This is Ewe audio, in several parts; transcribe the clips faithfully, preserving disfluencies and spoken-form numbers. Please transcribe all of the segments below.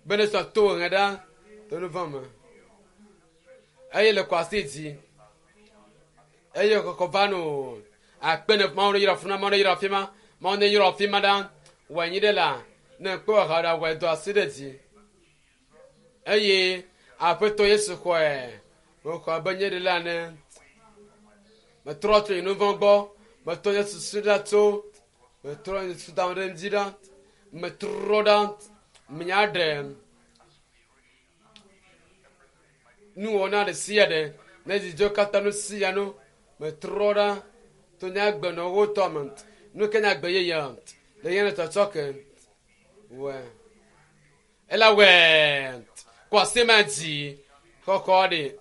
Bene sɔ to ŋe ɖa to nu vɔ̃ me. Eye le kɔ asi dzi. Eye kɔkɔ va no. Akpe ne Mawu ne yra funa Mawu ne yra fi ma. Mawu ne yra fi ma ɖa. Wɔ anyi ɖe la. Ne kpɔ ha ɖa wɔ do asi ɖe dzi. Eye Aƒetɔ Yesu xɔe. Mexɔ abe nye ɖe la ene. Metrɔ tso nye nu vɔ̃ gbɔ. Metrɔ nye susu ɖa tso. Metrɔ nye susu da ɖe ŋdzi ɖa. Metrɔ ɖa. Menya ɖe. Nuwɔna ɖe sia ɖe. Ne dzidzɔ katã nu sia nu. Metrɔ ɖa. To nye agbenɔwo tɔ me. Nu ke nye agbe yeye. Le nye tsɔtsɔ ke. Wɔ. Ela wɔ. Kɔ asi ma dzi. Xɔxɔ ɖe.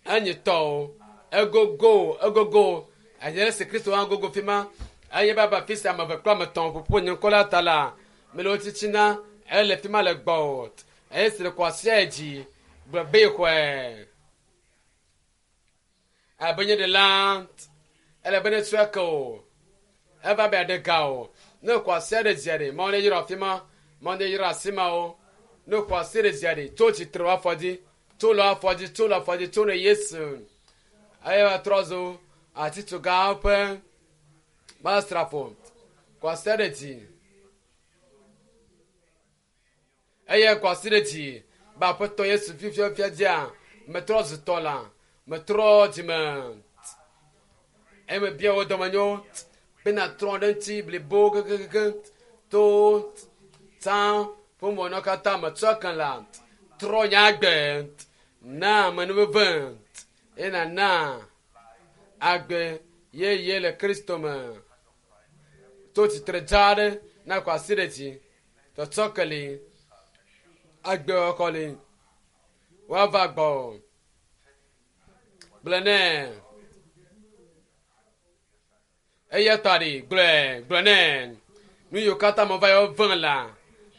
Enyi tɔwo. Egogo. Egogo. Enye le si Kristo hã gogo fi ma. Eye baba fi sia ame eve kple ame etɔ̃ ƒoƒu nye ŋkɔ la ta la. Mele wo tsitsina. Ele fi ma le gbɔwò. Eye si le kɔ asia dzi. Gblɔ be xɔe. Abe nye ɖela. Ele be ne tsɔe ke o. Eva be aɖe ga o. Ne kɔ asia ɖe dzia ɖe, Mawu ne yra fi ma. Mawu ne yra asi ma wo. Ne kɔ asi ɖe dzia ɖe, tso tsitre wɔ afɔ dzi. Tso le afɔ dzi, tso le afɔ dzi, tso ne Yesu. Eye va trɔ zu atitsoga ƒe masrafo. Kɔ asi ɖe dzi. Eye kɔ asi ɖe dzi. Be Aƒetɔ Yesu fifiafia dzia, metrɔ zu tɔ la. Metrɔ dzime. Eye mebia wo dɔmenyo bena trɔ ɖe ŋuti blibo kekeake to tsã ƒe mɔnɔ katã metsɔ ke la. Trɔ nye agbe na amenuveve eye nana agbe yeye le Kristo me. To tsitre dza aɖe na kɔ asi ɖe dzi. Tsɔtsɔ ke li. Agbe xɔxɔ li. Woava gbɔ. Gblɔ nɛ. Eya ta ɖi gblɔe gblɔ nɛ. Nu yiwo katã me va yɔ vẽ la.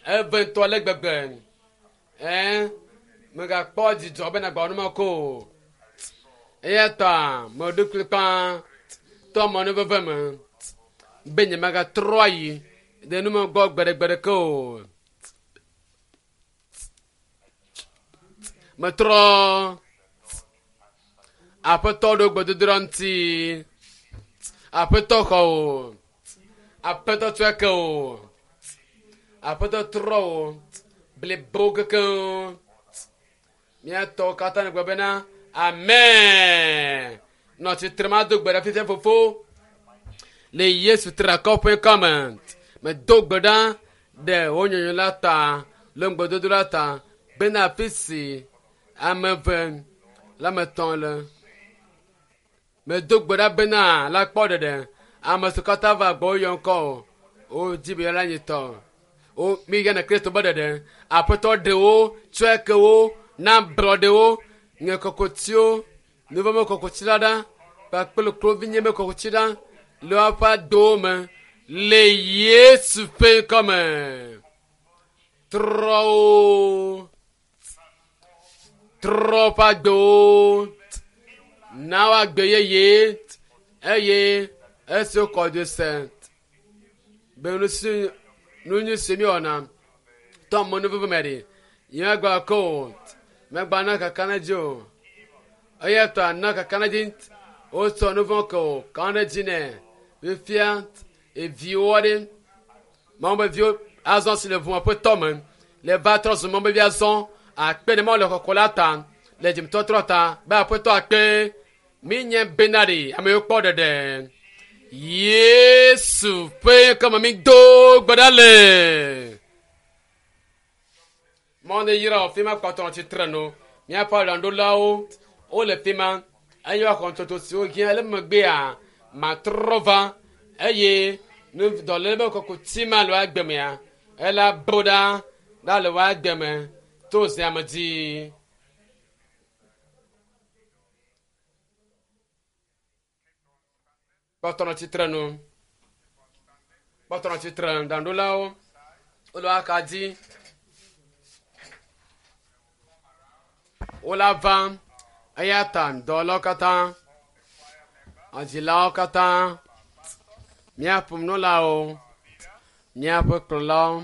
Eve ŋutɔ le gbegbe. Ɛ megakpɔ dzidzɔ bena gbɔ nu ko. Eya ta meɖo kplikpaa tɔ amenuveve me be nye megatrɔ ayi ɖe nu me gbɔ gbeɖegbeɖeke o. Metrɔ. Aƒetɔ ɖo gbedodoɖa ŋuti. Aƒetɔ xɔ o. Aƒetɔ tsɔe ke o. Aƒetɔ trɔ o. Blibo kekeŋ. Míatɔwo katã ne gblɔ bena amen. Nɔ tsitre ma do gbe ɖa fifia fofo. Le Yesu tra kɔƒe kɔme. Medo gbe ɖa ɖe wo nyɔnyɔ la ta le ŋgbedodo la ta bena afi si ame eve le ame etɔ̃ le. Medo gbe ɖa bena la kpɔ ɖeɖe. Ame siwo katã va gbɔ woyɔ ŋkɔ o. Wodzi be yewoa nyi tɔ. Wo mi yina Kristo be ɖeɖe. Aƒetɔ ɖe wo, tsɔe ke wo, na blɔɖe wo, ŋe kɔkɔtiwo, nuvɔ̃me kɔkɔti la ɖa, kpakple kluvinye me kɔkɔti ɖa le woƒe adowo me le Yesu ƒe ŋkɔme. Trɔ wo. Trɔ woƒe agbewo. Na wo agbe yeye eye esi wokɔ dzo se be nu si nu nyui si míewɔna tɔ amenuveve me ɖi. Nye megba ke o. Megba na kakaɖedzi o. Eya ta na kakaɖedzi wotsɔ nu vɔ̃ ke o. Ka ɖe dzi nɛ. Fifia eviwo aɖe. Mawu be viwo azɔ si le ʋu aƒetɔ me. Le va trɔ zu Mawu be vi azɔ. Akpe ne Mawu le kɔkɔ la ta. Le dzimetɔtrɔ ta. Be aƒetɔ akpe. Mi nye bena ɖe ame yiwo kpɔ ɖeɖe. Yesu ƒe ŋkɔme mi do gbe ɖa le. Mawu ne yra wò fi ma kpɔtɔ nɔ tsitre nu. Míaƒe aɖaŋuɖolawo wole fi ma eye woaxɔ ntsotso siwo hiã le megbea matrɔ va eye nu dɔléle be kɔkuti ma le wo agbe mea ela bo ɖa ɖa le wo agbe me to ziame dzi. Kpɔtɔ nɔ tsitre nu. Kpɔtɔ nɔ tsitre aɖaŋuɖolawo wole wo axa dzi. Wola va eya ta dɔwɔlawo katã, adzilawo katã, míaƒe nunɔlawo, míaƒe kplɔlawo,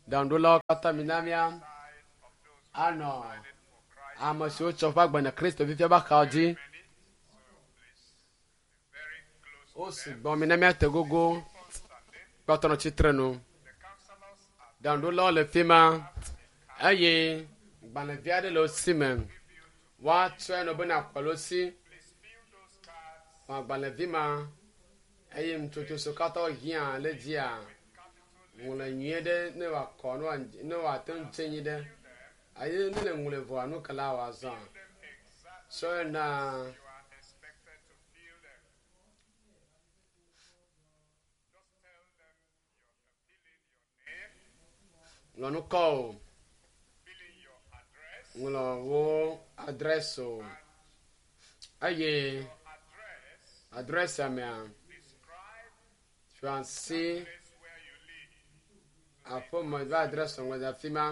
ɖaŋuɖolawo katã mina mía Anɔ ame siwo tsɔ woƒe agbe na Kristo fifia be axawo dzi. Wosu gbɔ mi ne míate gogo kpɔtɔ nɔ tsitre nu. Ɖaŋuɖolawo le fi ma eye gbalẽvi aɖe le wo si me. Woatsɔe nɔ bena akɔ le wo si. Xɔ agbalẽvi ma eye nutsotso siwo katã wohiã le dzia ŋlɔe nyuie ɖe ne wòakɔ ne wòate ŋu dze anyi ɖe. Eye ne le ŋlɔe vɔa nu ka la wòazã. Sɔe na ŋlɔ ŋkɔ o, ŋlɔ wo adrɛs o eye adrɛsia mea fiasi aƒeme ƒe adrɛs ŋlɔ ɖe afi ma.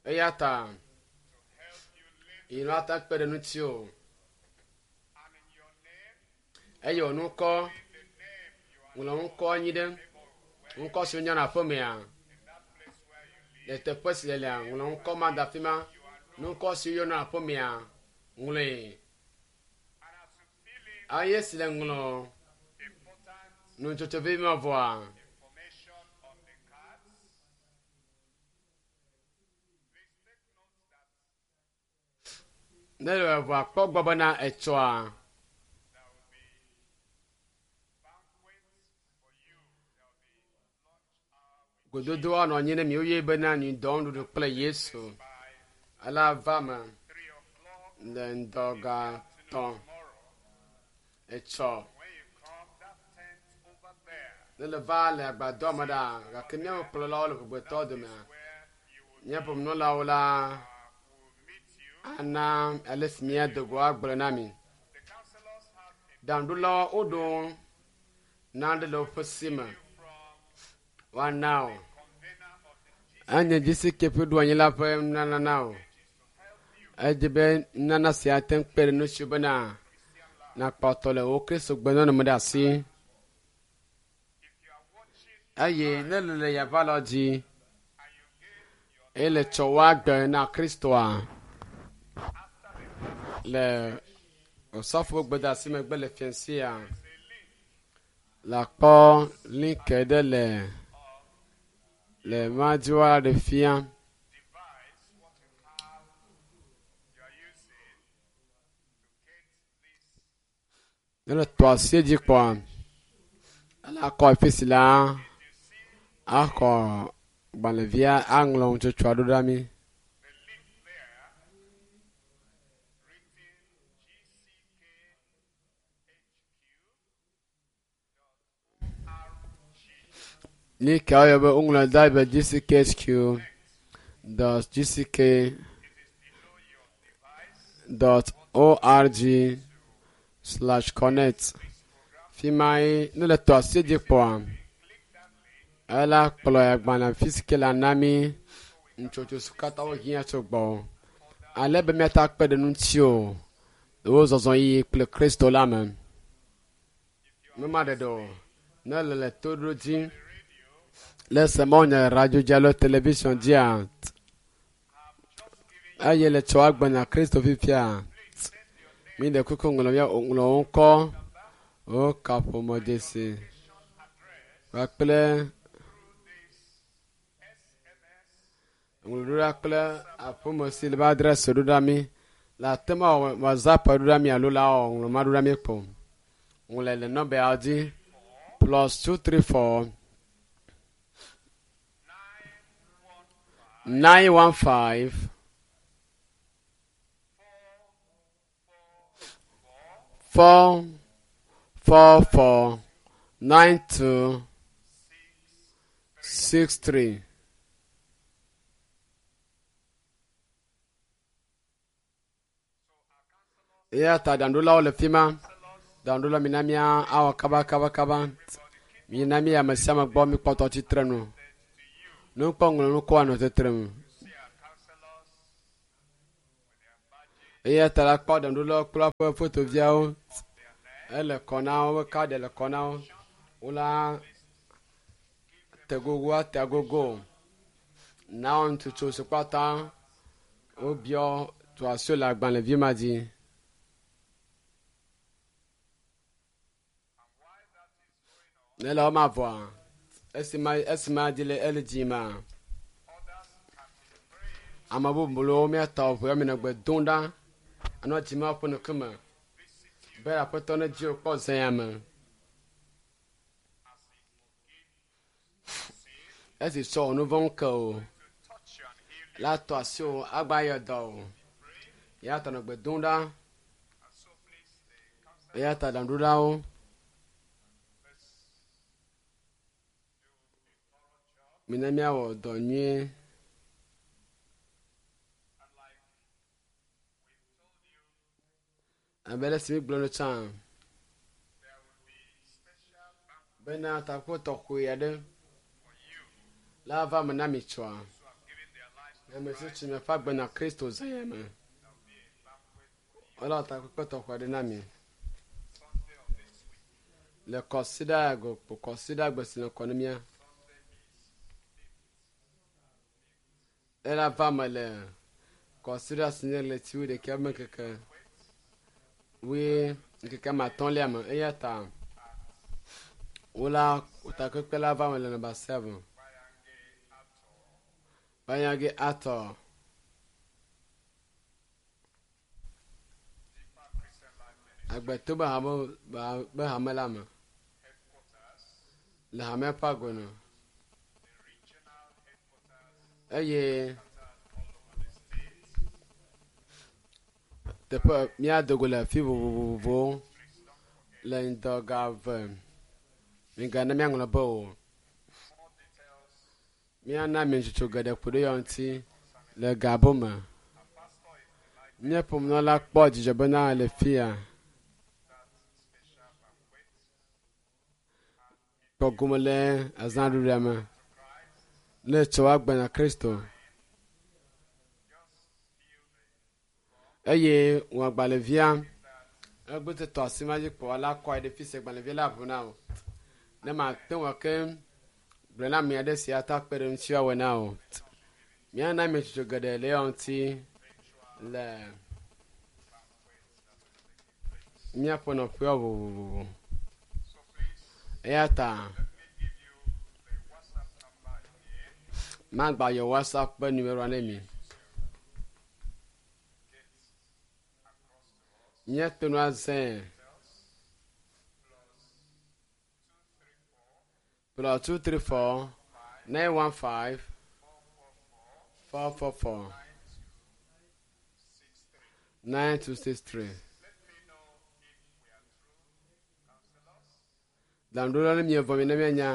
Eya ta yi la ta kpe ɖe ŋuti o. Eye wò ŋkɔ ŋlɔ ŋkɔ anyi ɖe ŋkɔ si wonya le aƒemea le teƒe si le lea ŋlɔ ŋkɔ ma da afi ma. Ŋkɔ si woyɔna le aƒemea ŋlɔe. Eye si le ŋlɔ nutsotso vevi ma vɔa. Ne le vɔa kpɔ gbɔ bena etsɔa. Gododo anɔ anyi ne miwo ye bena ŋdɔ nuɖuɖu kple Yesu. Ela va me le ŋdɔ ga tɔ̃ etsɔ. Ne le va le agbadɔ me ɖa gake míaƒe kplɔlawo le ʋugbetɔ domea. Míaƒe nunɔlawo la ana ale si míado go agblɔ na mi. Ɖaŋuɖolawo woɖo nane le woƒe si me. Woana wo. Enye G C K ƒe ɖoanyi la ƒe nunana na wo. Edzi be nunana sia ate ŋu kpe ɖe ŋutsiwò bena nakpɔtɔ le wò Kristo gbenɔnɔ me ɖe asi. Eye ne le le yavalɔ dzi eye le tsɔ wò agbe na Kristoa le osɔfo gbedeasi megbe le fiasia la kpɔ link ɖe le le madzi woaɖe fia. Ne le tɔ asi dzi kpɔa, ele akɔ afi si la axɔ gbalẽvia aŋlɔ nutsotsoa ɖo ɖa mi. Link a woyɔ be woŋlɔ da be G C K H Q dot G C K dot org slash connect. Fi ma ye ne le tɔ asi dzi kpɔa, ela kplɔ agbalẽ fi si ke le ana mi nutsotso siwo katã wohiã tso gbɔ. Ale be míate kpe ɖe ŋuti o le wo zɔzɔ yiyi kple Kristo la me. Numaɖeɖe o ne le le to ɖo dzi le semɔnya radio dzi alo television dzia eye le tsɔ agbe na Kristo fifia mi ɖe kuku ŋlɔ mía ŋlɔ wo ŋkɔ wo kaƒomɔ dzesi kpakple ŋlɔɖoɖa kple aƒeme si le be adrɛsi ɖo ɖa mi le ate ma wɔ WhatsApp ɖo ɖa mi alo la wɔ ŋlɔ ma ɖo ɖa mi kpo. Ŋlɔe le nɔmbawo dzi plus two three four nine one five four four four nine two six three. Eya ta ɖaŋuɖolawo le fi ma. Ɖaŋuɖola mina mía awɔ kaba kaba kaba. Mina mi ame sia ame gbɔ mikpɔtɔ tsitre nu. Nukpɔ ŋlɔ nukɔ anɔ tsitre nu. Eya ta la kpɔ ɖaŋuɖolawo kple woƒe fotoviawo Ele kɔ na wo, wobe kaɖi le kɔ na wo. Wola te gogo ate agogo. Na wo ŋutsu si kpata wobiɔ tu asi le agbalẽvi ma dzi. Ne le wɔma vɔa, esime esime dzi le ele dzi ma, ame bubuwo míatɔ ʋu ya mi nɔ gbe dom ɖa anɔ dzima ƒe ŋkume be aƒetɔ ne dzi wòkpɔ zã ya me. Esi sɔ wò nu vɔ̃wo ke o, la tɔ asi wò agba yɔ dɔ o. Ya ta nɔ gbe dom ɖa. Eya ta ɖaŋuɖolawo mina míawɔ dɔ nyuie. Abe ale si mígblɔ nu tsã bena takpekpe tɔxɛ aɖe la va me na mi tsɔa. Ame si tsi miaƒe agbe na Kristo zã ya me. Wole takpekpe tɔxɛ aɖe na mi. Le kɔsiɖa go kɔsiɖa gbe si le ŋkɔ ne mía. Ela va me le kɔsiɖa si nye ɣleti wuiɖekɛ ƒe ŋkeke wui ŋkeke ame atɔ̃lia me eya ta wola takpekpe la va me le nɔmba seven. Banyage atɔ. Agbeto be hame be hame la me le hamea ƒe agonu eye teƒe míado go le afi vovovowo le ŋdɔ ga eve. Migana míaŋlɔ be o. Míana mitsotso geɖe ku ɖe ya ŋuti le gabo me. Nye ƒomenɔla kpɔ dzidzɔ bena le fia. Kpɔ gome le azãɖuɖua me. Ne tsɔ woagbe na Kristo. Eye wɔ agbalẽvia egbe tɔ asi ma dzi kpɔ la kɔ ɖe fi si agbalẽvia la ʋu na o. Ne mate ŋu ake gblɔ na ame aɖe si ata kpe ɖe ŋuti awɔe na o. Míana mitsotso geɖe le ya ŋuti le míaƒe nɔƒewo vovovovo. Eya ta magba yɔ WhatsApp ƒe numeroa ne mi. Míate ŋu azãe plus two three four nine one five four four four nine two six three. Ɖaŋuɖola ne mievɔ mi ne mianya.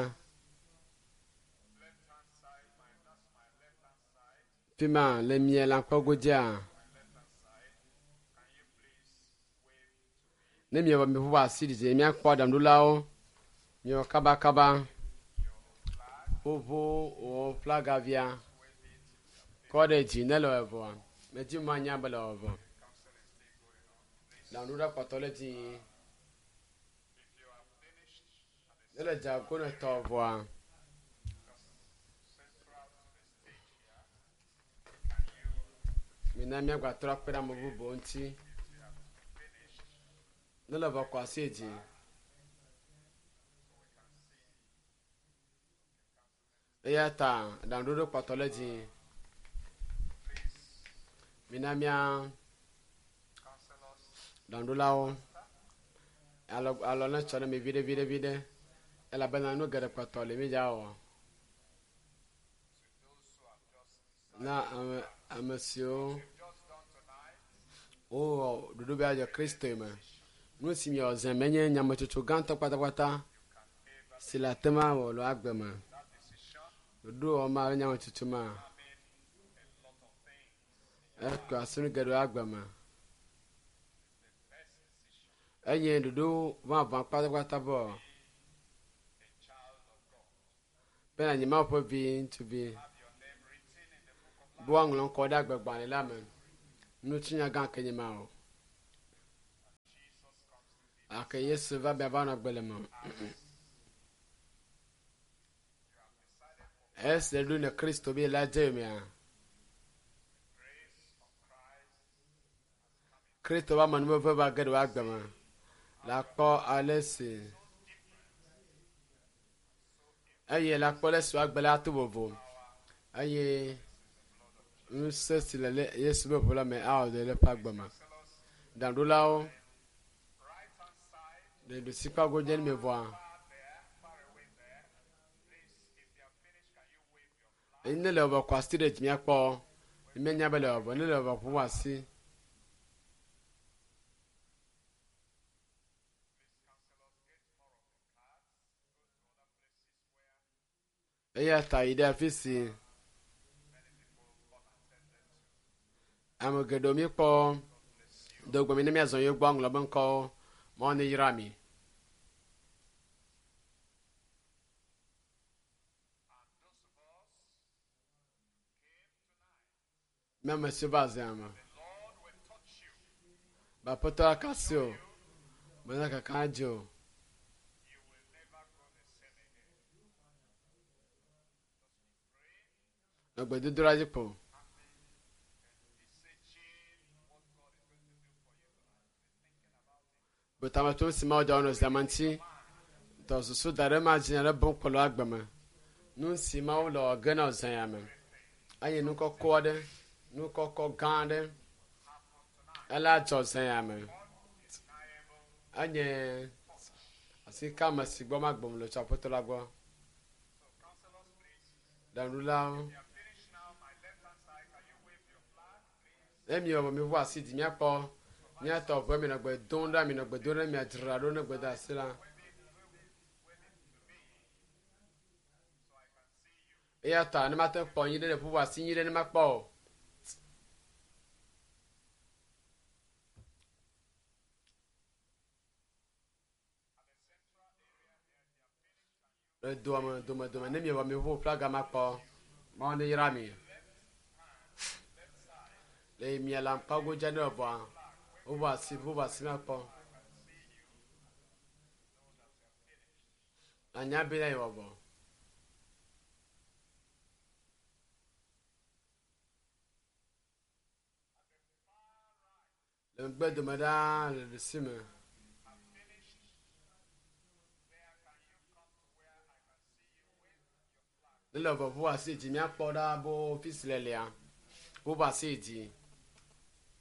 Fi ma le mia lãkpɔ godzia. Ne mievɔ mi ƒoƒo asi ɖi miakpɔ ɖaŋuɖolawo miwɔ kabakaba. Ƒoƒo wɔ flagavia kɔ ɖe dzi ne le vɔa. Medzi ma nya be le vɔ. Ɖaŋuɖola kpɔtɔ le dzi. Ne le dze ne tɔ vɔa. Mina míagbatrɔ akpe ɖe ame bubuwo ŋuti. Ne le vɔ kɔ asi dzi. Eya ta ɖaŋuɖoɖo kpɔtɔ le dzi. Mina mía ɖaŋuɖolawo alɔ alɔ ne tsɔ ne mi viɖe viɖe viɖe elabena nu geɖe kpɔtɔ le mi dza wɔ. Na ame ame siwo wowɔ ɖoɖo be adze Kristo me. Nu si miwɔ zã menye nyametsotso gãtɔ kpatakpata si le ate ŋu awɔ le agbe me. Ɖoɖo wɔm alo nyametsotso ma ekɔ asi nu geɖe le agbe me. Enye ɖoɖo vavã kpatakpata bɔ be nànyi Mawu ƒe vi ŋutsuvi. Be woaŋlɔ ŋkɔ ɖe agbegbalẽ la me. Ŋutinya gã ke nye ma o. Ake Yesu va be va nɔ agbe le me. Esi ɖo ne Kristo be la dze mea. Kristo va amenuveve va ge ɖe wo agbe me. La kpɔ ale si eye la kpɔ ale si woagbe la to vovo eye ŋusẽ si le Yesu ƒe ʋu la me awɔ dɔ le eƒe agbe me. Ɖaŋuɖolawo le ɖusikpa godzi ne vɔa. Ne le wɔ kɔ asi ɖe dzi míakpɔ míanya be le wɔ ne le wɔ ƒu asi. Eya ta yi ɖe afi si ame geɖewo míekpɔ do gbe mi ne míazɔ yewo gbɔ aŋlɔ be ŋkɔwo Mawu ne yra mi. Mi ame siwo va zea me. Be Aƒetɔ aka asi o. Mena kaka dzi o. Nɔ gbedodoɖa dzi kpo. Betametɔ si Mawu dza wonɔ zea me ŋuti. Tɔ susu da ɖe ma dzi ale bom kpɔ le agbe me. Nu si Mawu le wɔ ge na zea ya me. Eye nu kɔkɔ aɖe, nu kɔkɔ gã aɖe ela dzɔ zea ya me. Enye asi ka ame si gbɔ magbom le tso Aƒetɔ la gbɔ. Ɖaŋuɖolawo. Ne miewɔ miʋu asi dzi míakpɔ míatɔ ʋe mi nɔ gbe dom ɖa mi nɔ gbe dom ɖe miadzra ɖo ne gbe asi la. Eya ta ne mate kpɔ nyi ɖe le ʋuʋu asi nyi ɖe ne makpɔ o. Le doa me dome dome ne miewɔ miʋu flaga makpɔ Mawu ne yra mi. Le mia la ŋkpa godza ne vɔa ʋuʋu asi ʋuʋu asi makpɔ. Anya be na yewɔ vɔ. Le megbe dome ɖaa le ɖusi me. Ne le vɔ ʋuʋu asi dzi míakpɔ ɖa bo fi si le lia. Ʋuʋu asi dzi.